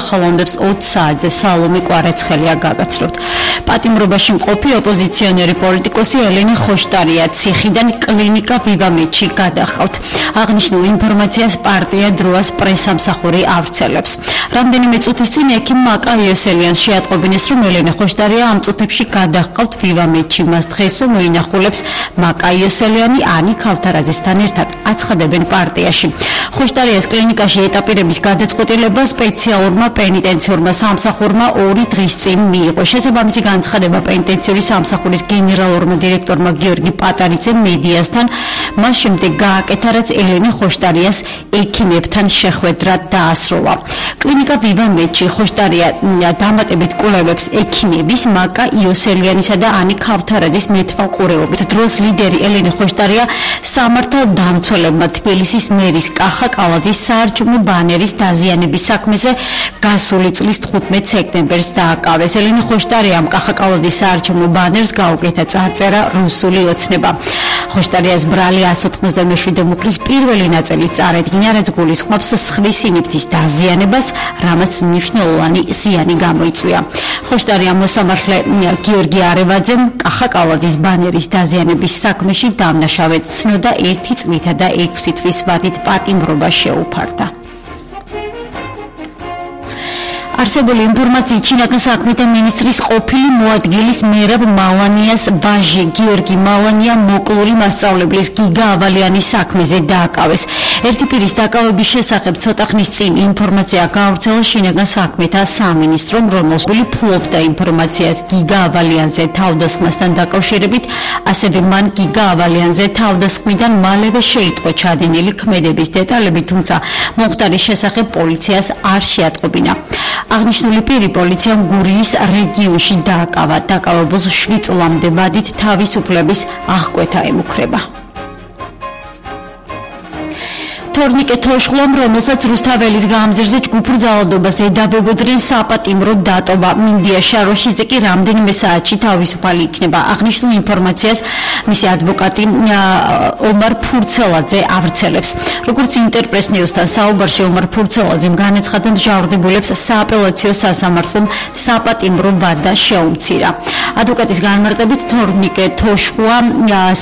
ახალონდებს 20 საათზე სალომე კვარეცხელია გაგაცნობთ. პატიმრობაში მყოფი ოპოზიციონერი პოლიტიკოსი ელენე ხოშტარია ციხიდან კლინიკა ვივამეთში გადახავთ. აღნიშნულ ინფორმაციას პარტია დროას პრესამსახური ავრცელებს. რამდენიმე წუთის წინ ექიმ მაკა იოსელიანს შეატყობინეს, რომ ელენე ხოშტარია ამ წუთებში გადახავთ ვივამეთში. მას დღესო მოინახულებს მაკა იოსელიანი ანი ქავთარაძესთან ერთად აცხადებენ პარტიაში. ხოშტარიას კლინიკაში ეტაპირების გადაწყვეტილება სპეციალურმა პენიტენციურმა სამსახურმა 2 დღის წინ მიიღო. შესაბამისი განცხადება პენიტენციური სამსახურის გენერალურმა დირექტორმა გიორგი პატარიძემ მედიასთან მას შემდეგ გააკეთა, რაც ელენე ხოშტარიას ექიმებთან შეხვედრა დაასრულა. კლინიკა ვივამეთში ხოშტარია დამატებით კვლევებს ექიმების მაკა იოსელიანისა და ანი ქავთარაძის მეთვალყურეობით. დროს ლიდერი ელენე ხოშტარია სამართალდამცველებმა თბილისის მერის კახა კალაძის საარჩევნო ბანერის დაზიანების საქმეზე გასული წლის 15 სექტემბერს დააკავეს. ელენე ხოშტარიამ კახა კალაძის საარჩევნო ბანერს გაუკეთა წარწერა რუსული ოცნება. ხოშტარიას ბრალი 197 მუხლის პირველი ნაწილი წარედგინა, რაც გულისხმობს სხვისი ნივთის დაზიანებას, რამაც მნიშვნელოვანი ზიანი გამოიწვია. ხოშტარია მოსამართლე გიორგი არევაძემ კახა კალაძის ბანერის დაზიანების საქმეში დამნაშავედ ცნოდა 1 წლითა და 6 თვის ვადით პატიმრობა შეუფარდა. არსებული ინფორმაციით შინაგან საქმეთა მინისტრის ყოფილი მოადგილის მერაბ მალანიას ვაჟი გიორგი მალანია მოკლული მასწავლებლის გიგა ავალიანის საქმეზე დააკავეს. ერთი პირის დაკავების შესახებ ცოტა ხნის წინ ინფორმაცია გაავრცელა შინაგან საქმეთა სამინისტრომ, რომელშული ფლობდა ინფორმაციას გიგა ავალიანზე თავდასხმასთან დაკავშირებით, ასევე მან გიგა ავალიანზე თავდასხმიდან მალევე შეიტყო ჩადენილი ქმედების დეტალები, თუმცა მომხდარის შესახებ პოლიციას არ შეატყობინა. აღნიშნული პირი პოლიციამ გურიის რეგიონში დააკავა. დაკავებულს 7 წლამდე ვადით თავისუფლების აღკვეთა ემუქრება. თორნიკე თოშხლომ, რომელსაც რუსთაველის გამზირზე ჯგუფურ ძალადობას ედავებოდნენ, საპატიმრო დატოვა. მინდია შაროშიძე კი რამდენიმე საათში თავისუფალი იქნება. აღნიშნულ ინფორმაციას მისი ადვოკატი ომარ ფურცელაძე ავრცელებს. როგორც ინტერპრეს ნიუსთან საუბარში ომარ ფურცელაძემ განაცხადა, მჟავრდებულებს სააპელაციო სასამართლომ საპატიმრო ვადა შეუმცირა. ადვოკატის განმარტებით, თორნიკე თოშხლა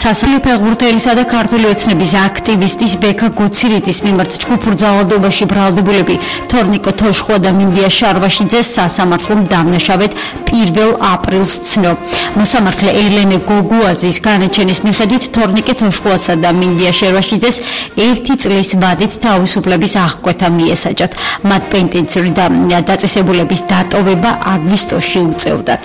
სასამართლო ფეხბურთელისა და ქართული ოცნების აქტივისტის ბექა გოცირით მიმართ ჯგუფურ ძალადობაში ბრალდებულები თორნიკე თოშხლა და მინდია შარვაშიძეს სასამართლომ დამნაშავედ 1 აპრილს ცნო. მოსამართლე ელენე გოგუაძის განაჩენის მიხედვით თორნიკე თოშხლასა და მინდია შარვაშიძეს 1 წლის ვადით თავისუფლების აღკვეთა მიესაჯათ. მათ პენიტენციური დაწესებულების დატოვება აგვისტოში უწევდათ.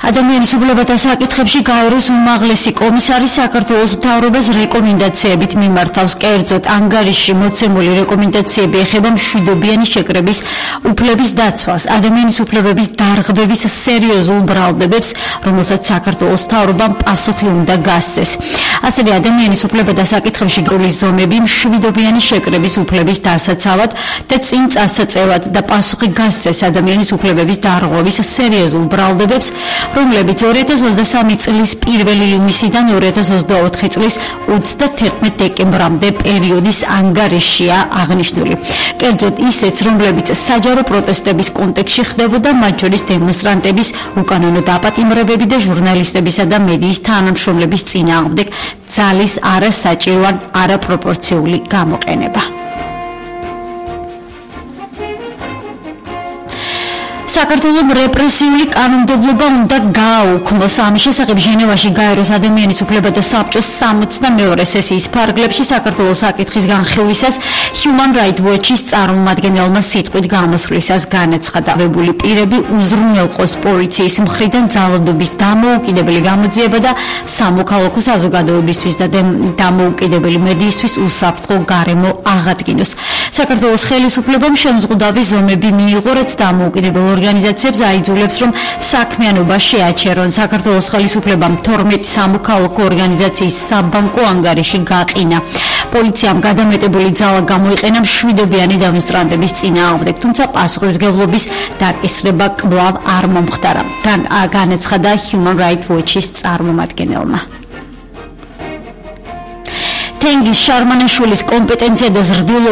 ადამიანის უფლებათა საკითხებში გაეროს უმაღლესი კომისარი საქართველოს მთავრობას რეკომენდაციებით მიმართავს. კერძოდ, ანგარიშში მოცემული რეკომენდაციები ეხება მშვიდობიანი შეკრების უფლების დაცვას, ადამიანის უფლებების დარღვევის სერიოზულ ბრალდებებს, რომელსაც საქართველოს მთავრობამ პასუხი უნდა გასცეს. ასევე ადამიანის უფლებათა საკითხებში გროლის ზომები მშვიდობიანი შეკრების უფლების დასაცავად და წინ წასაწევად და პასუხი გასცეს ადამიანის უფლებების დარღვევის სერიოზულ ბრალდებებს, რომლებიც 2023 წლის 1 ივნისიდან 2024 წლის 31 დეკემბრამდე პერიოდის ანგარიშია აღნიშნული. კერძოდ ისეც, რომლებიც საჯარო პროტესტების კონტექსტში ხდებოდა, მათ შორის დემონსტრანტების უკანონო დაპატიმრებები და ჟურნალისტებისა და მედიის თანამშრომლების წინააღმდეგ ძალის არასაჭირო ან არაპროპორციული გამოყენება. საქართველოს რეპრესიული კანონმდებლობა უნდა გააუქმოს. ამის შესახებ ჟენევაში გაეროს ადამიანის უფლებათა საბჭოს 62 სესიის ფარგლებში საქართველოს საკითხის განხილვისას Human Rights Watch-ის წარმომადგენელმა სიტყვით გამოსვლისას განაცხადა, ვებული პირები უზრუნველყოს პოლიციის მხრიდან ძალადობის დამოუკიდებელი გამოძიება და სამოქალაქო საზოგადოებისთვის და დამოუკიდებელი მედიისთვის უსაფრთხო გარემო აღადგინოს. საქართველოს ხელისუფლებამ შემზღუდავი ზომები მიიღო, რაც დამოუკიდებელ ორგანიზაციებს აიძულებს, რომ საქმიანობა შეაჩერონ. საქართველოს ხელისუფლებამ 12 სამოქალაქო ორგანიზაციის საბანკო ანგარიში გაყინა. პოლიციამ გადამეტებული ძალა გამოიყენა მშვიდობიანი დემონსტრანტების წინააღმდეგ, თუმცა პასუხისმგებლობის დაკისრება კვლავ არ მომხდარა. განაცხადა Human Rights Watch-ის წარმომადგენელმა. თენგიზ შარმანაშვილის კომპეტენცია და ზრდილობა